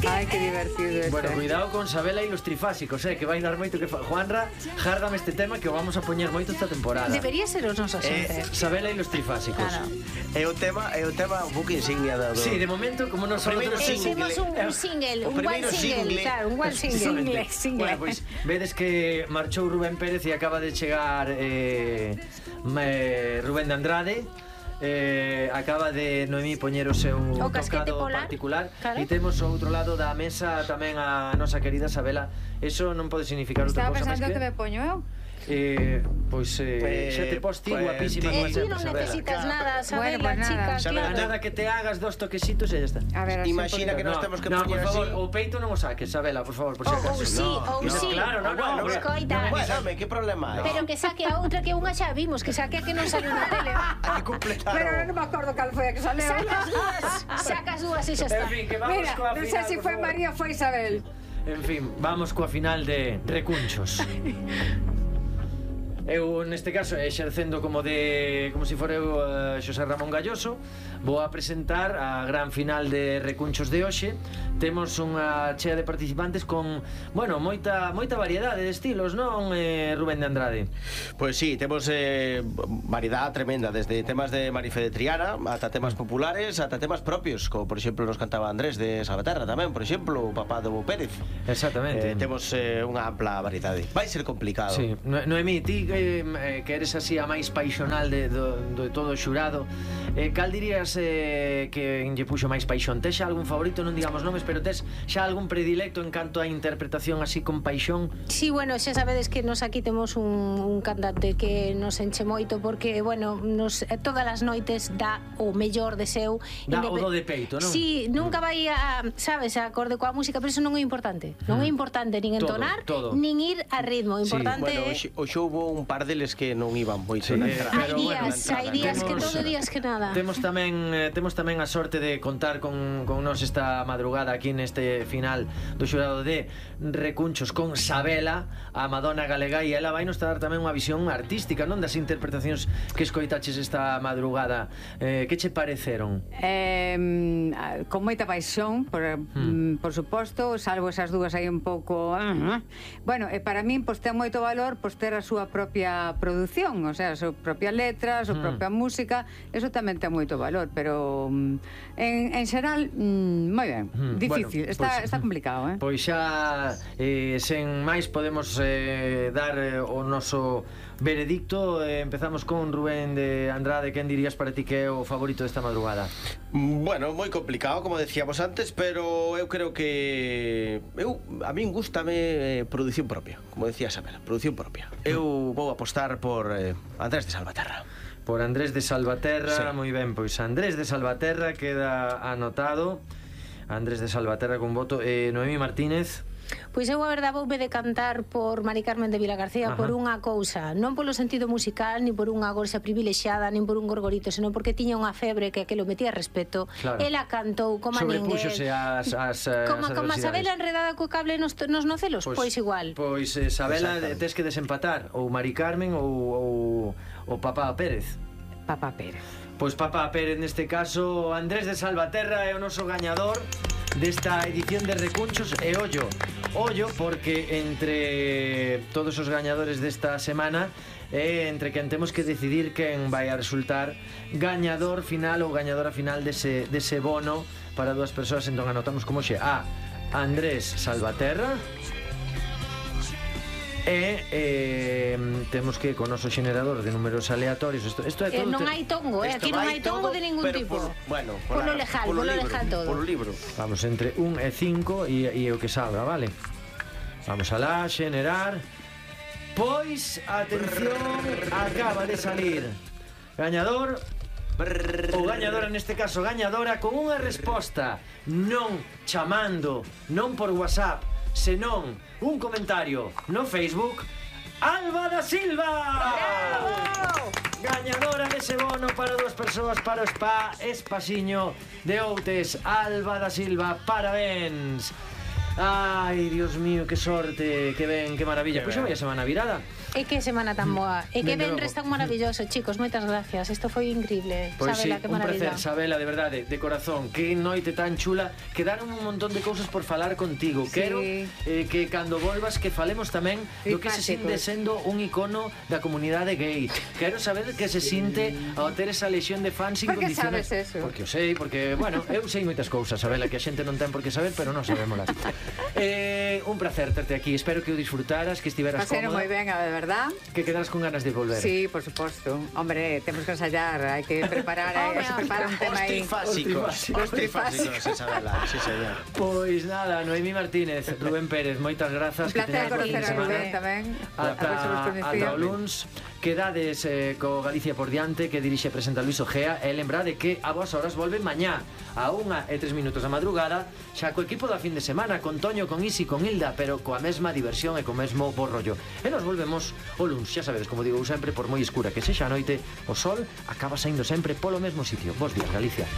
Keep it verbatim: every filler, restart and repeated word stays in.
Ai, que divertido este. Bueno, cuidado con Sabela e los trifásicos, eh, que vai dar moito que fa. Juanra, járdame este tema que o vamos a poñer moito esta temporada. Debería ser os nosos sempre. Sabela e los trifásicos. Claro. É o tema, é o tema un pouco insignia do... Sí, de momento, como non son primeiro outros single. Hicimos un, un single, O un one primeiro single, single. claro, un one single. Single, single. Bueno, pois pues, vedes que marchou Rubén Pérez e acaba de chegar eh, eh, Rubén de Andrade. Eh, acaba de Noemí poñer o seu O casquete tocado polar, particular claro. E temos ao outro lado da mesa tamén a nosa querida Sabela. Eso non pode significar outra Estaba cousa máis pensando que que me poño eu. Eh, pois eh, Pues, xa te pos ti pues, guapísima ti- como Eh, ti sempre, non Sabela. necesitas nada, Bueno, Sabela, pues nada. chica, Sabela, claro. Nada que te hagas dos toquesitos e ya está. A ver, así Imagina un que poquito. nos temos que no, por poñer favor, así. o peito non o saques, Sabela, por favor, por si Ou acaso. ou sí, ou no, sí. claro, no, no, Bueno, escoita. Bueno, home, que problema hai? Pero que saque a outra que unha xa vimos, que saque a que non saliu na tele. Hai que completar Pero o- non me acordo cal foi a que saleu. Sacas dúas, sacas dúas e xa En está. fin, que vamos Mira, coa non final, sei se por foi favor. María ou foi Isabel. En fin, vamos coa final de Recunchos. Eu, neste caso, exercendo como de como se si fora eu uh, Xosé Ramón Galloso, vou a presentar a gran final de Recunchos de hoxe. Temos unha chea de participantes con, bueno, moita moita variedade de estilos, non, eh, Rubén de Andrade? Pois sí, temos eh, variedade tremenda, desde temas de Marife de Triana ata temas populares, ata temas propios, como por exemplo nos cantaba Andrés de Salvaterra tamén, por exemplo, o papá do Pérez. Exactamente. Eh, temos eh, unha ampla variedade. Vai ser complicado. Sí, No- Noemí, ti eh, eh, que eres así a máis paixonal de, do, de todo o xurado, eh, cal dirías eh, que lle puxo máis paixón? Tes xa algún favorito, non digamos nomes, pero tes xa algún predilecto en canto a interpretación así con paixón? Sí, bueno, xa sabedes que nos aquí temos un, un cantante que nos enche moito porque, bueno, nos, eh, todas as noites dá o mellor de seu. Dá o Independ- do de peito, non? Sí, nunca vai a, sabes, a acorde coa música, pero eso non é importante. Non é importante nin Todo, entonar, todo. nin ir a ritmo. O Sí, importante Bueno, é... hoxe, hoxe houve un par deles que non iban moito Sí, na eh, entrada. Hai pero bueno, días, na entrada, hai días que temos- todo, días que nada. Temos tamén eh, temos tamén a sorte de contar con, con nos esta madrugada aquí neste final do xurado de Recunchos con Sabela, a Madonna galega, e ela vai nos dar tamén unha visión artística, non, das interpretacións que escoitaches esta madrugada. Eh, que che pareceron? Eh, mm, con moita paixón, por, mm. por suposto, salvo esas dúas aí un pouco... uh, bueno, e para min, pois, ten moito valor, pois, ter a súa propia produción, o sea, a súa propia letra, a súa Mm. propia música, eso tamén ten moito valor, pero mm, en, en xeral, mm, moi ben, Mm, difícil, bueno, está, pois- está complicado, eh? Pois xa eh, sen máis podemos eh, dar eh, o noso veredicto. eh, Empezamos con Rubén de Andrade. Quen dirías para ti que é o favorito desta madrugada? Bueno, moi complicado, como decíamos antes, pero eu creo que eu a min gústame eh, produción propia, como decía Sabela, produción propia. Eu vou apostar por eh, Andrés de Salvaterra. Por Andrés de Salvaterra, Sí. moi ben, pois Andrés de Salvaterra queda anotado. Andrés de Salvaterra con voto. eh, Noemí Martínez. Pois eu a verdade voume decantar por Mari Carmen de Vilagarcía. Ajá. Por unha cousa, non polo sentido musical, nin por unha gorxa privilexiada, nin por un gorgorito, senón porque tiña unha febre que aquilo metía respeto. Claro. Ela cantou como a ninguén. Sobrepúxose ás, ás, as Como, como a Sabela adversidades. enredada co cable nos, nos nocelos, pois, pois igual. Pois eh, Sabela, Exactamente. tes que desempatar ou Mari Carmen ou, ou o Papá Pérez. Papá Pérez. Pois Papá Pérez neste caso. Andrés de Salvaterra é o noso gañador desta edición de Recunchos. E ollo, ollo, porque entre todos os gañadores desta semana é entre quen temos que decidir quen vai a resultar gañador final ou gañadora final dese, dese bono para dúas persoas. Entón anotamos como xe a Andrés Salvaterra e eh, temos que con o noso generador de números aleatorios. Isto, isto é Eh, todo non te- hai tongo, eh? Isto Aquí non vai hai tongo todo, de ningún pero tipo. por- bueno, Polo la- lejal, polo polo libro, lejal todo. Polo libro. Vamos entre un e cinco e, e o que salga, vale? Vamos a la xenerar. Pois, atención, acaba de salir gañador ou gañadora, neste caso gañadora, con unha resposta non chamando, non por WhatsApp, senón un comentario no Facebook. Alba da Silva! Bravo! Gañadora dese bono para dúas persoas para o spa Espasiño de Outes. Alba da Silva, parabéns. Ai, Dios mío, que sorte, que ben, que maravilla. Que Pois xa ben. vai a semana virada. E que semana tan boa. E que Dende venres logo. tan maravilloso, chicos. Moitas gracias. Isto foi increíble. Pois sí, Sabela, que un maravilla. placer, Sabela, de verdade, de corazón. Que noite tan chula. Quedaron un montón de cousas por falar contigo. Sí. Quero eh, que cando volvas que falemos tamén do que se sinte Fantásticos. sendo un icono da comunidade gay. Quero saber que se sinte ao ter esa lexión de fans Por que incondicional. sabes eso? Porque o sei, porque, bueno, eu sei moitas cousas, Sabela, que a xente non ten por que saber, pero non sabémolas. eh, un placer terte aquí. Espero que o disfrutaras, que estiveras Pasaron cómoda, moi ben, a verdad. que quedaras con ganas de volver. Sí, por suposto. Hombre, temos que ensayar, hai que preparar, hai que preparar un tema Os aí. trifásicos. Os Os trifásicos, Isabela. Sí, señor. Pois nada, Noemí Martínez, Rubén Pérez, moitas grazas. Un placer conocer a Rubén tamén. A ver se vos Ata, coñecía. ata o luns. Quedades eh, co Galicia por diante, que dirixe e presenta Luis Ojea, e lembrade que a vos horas volve mañá a unha e tres minutos da madrugada, xa co equipo da fin de semana, con Toño, con Isi, con Hilda, pero coa mesma diversión e co mesmo bo rollo. E nos volvemos o luns, xa sabedes, como digo eu sempre, por moi escura que sexa a noite, o sol acaba saindo sempre polo mesmo sitio. Bos días, Galicia.